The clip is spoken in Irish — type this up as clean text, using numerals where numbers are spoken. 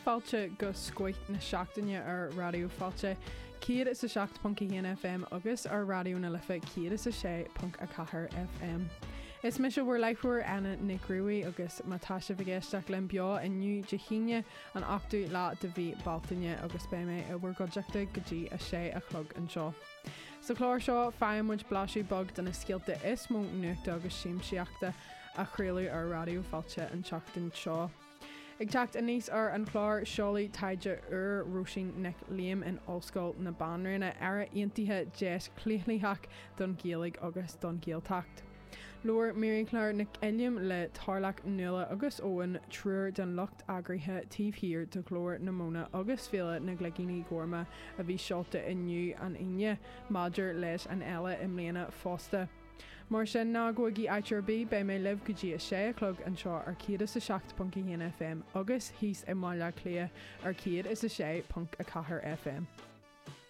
Fáilte go Scoith na Seachtaine ar Raidió Fáilte 107.1 FM agus ar Raidió na Life 106.4 FM. Is mise bhur láithreoir Anna Nic Ruairí agus má tá sibh ag éisteacht linn beo inniu Dé hAoine an 8ú lá de mhí Bealtaine agus beidh mé i bhur gcuideachta go dtí a sé a chlog anseo. Sa chlár seo, faigheann muid blaiseadh beag de na scéalta is mó nuachta agus siamsaíochta a craoladh ar Raidió Fáilte an tseachtain seo. Ag teacht aníos ar an chlár, seoladh taighde úr Róisín Nic Liam in Ollscoil na Banríona, Éire Aontaithe, Deis Chlaochlaitheach don Ghaeilge agus don Ghaeltacht. Labhair Mary-Claire Nic Uilliam le Tarlach, Nuala agus Eoin, triúr den lucht eagraithe taobh thiar de Ghlór na Móna agus Féile na gCloigíní Gorma a bhí seolta inniu, an Aoine, maidir leis an fhéile i mbliana fosta. Mar sin, ná gabhaigí áit ar bith, beidh mé libh go dtí a sé a chlog anseo ar 107.1 FM agus thíos i mBaile Átha Cliath ar 106.4 FM.